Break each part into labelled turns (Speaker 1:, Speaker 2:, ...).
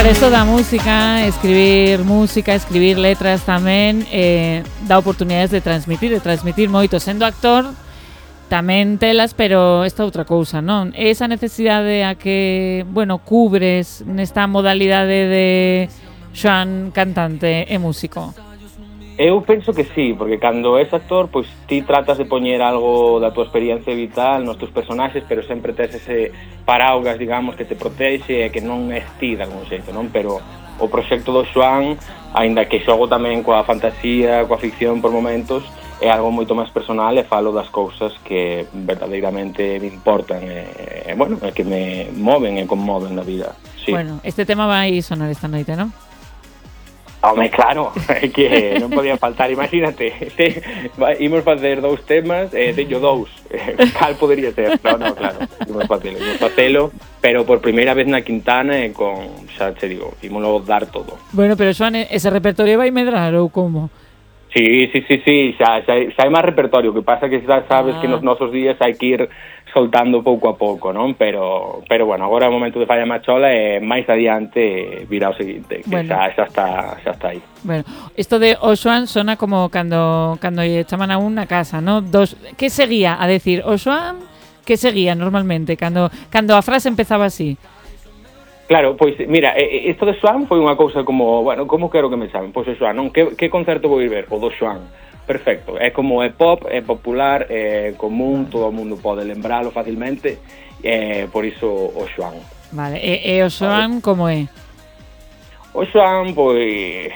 Speaker 1: Claro, isto da música, escribir letras tamén, dá oportunidades de transmitir moito. Sendo actor, tamén telas, pero esta outra cousa, non? Esa necesidade a que, bueno, cubres nesta modalidade de Xoán cantante e músico.
Speaker 2: Eu penso que sí, porque cando és actor, pois ti tratas de poñer algo da tua experiencia vital nos teus personaxes, pero sempre tes ese paraugas, digamos, que te protexe e que non és ti de algún xeito, non? Pero o proxecto do Xoán, aínda que xogo tamén coa fantasía, coa ficción por momentos, é algo moito máis personal e falo das cousas que verdadeiramente me importan e bueno, que me moven e conmoven na vida. Sí.
Speaker 1: Bueno, este tema vai sonar esta noite, non?
Speaker 2: Home, claro, é que non podía faltar, imagínate, imos facer 2 temas, teño 2, cal podería ser? No, claro, imos facelo, pero por primeira vez na Quintana e con, xa te digo, ímolo dar todo.
Speaker 1: Bueno, pero Xoán, ese repertorio vai medrar ou como?
Speaker 2: Sí, xa hai máis repertorio, que pasa que xa sabes que nos nosos días hai que ir soltando pouco a pouco, non? Pero bueno, agora é o momento de Falla Machola e máis adiante virá o seguinte, que bueno, xa está aí.
Speaker 1: Bueno, isto de o Xoán sona como cando lle chaman a un na casa, non? Que seguía a decir o Xoán? Que seguía normalmente cando a frase empezaba así?
Speaker 2: Claro, pois, mira, isto de Xoán foi unha cousa como, bueno, como quero que me chamen? Pois o Xoán, non? Que concerto vou ir ver? O do Xoán. Perfecto. É como é pop, é popular, é común, todo o mundo pode lembralo facilmente, por iso o Xoán.
Speaker 1: Vale, e o Xoán como é?
Speaker 2: O Xoán, pois,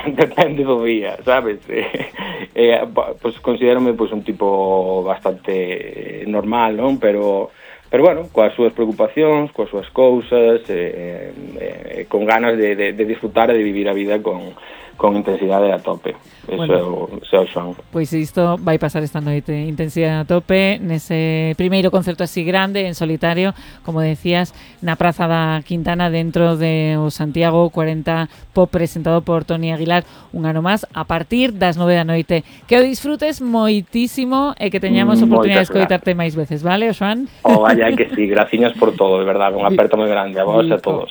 Speaker 2: depende do día, sabes? Pois considérome pois un tipo bastante normal, non? Pero bueno, coas súas preocupacións, coas súas cousas, con ganas de disfrutar e de vivir a vida con intensidade a tope. Eso é o Xoán.
Speaker 1: Pois isto vai pasar esta noite, intensidade a tope, nese primeiro concerto así grande, en solitario, como decías, na Praza da Quintana, dentro de o Santiago 40 Pop, presentado por Toni Aguilar, un ano máis, a partir das 9 da noite. Que o disfrutes moitísimo e que teñamos oportunidade de escoitarte máis veces, vale, Xoán?
Speaker 2: Vaya que sí, graciñas por todo, de verdade, unha aperta moi grande a vos e a todos.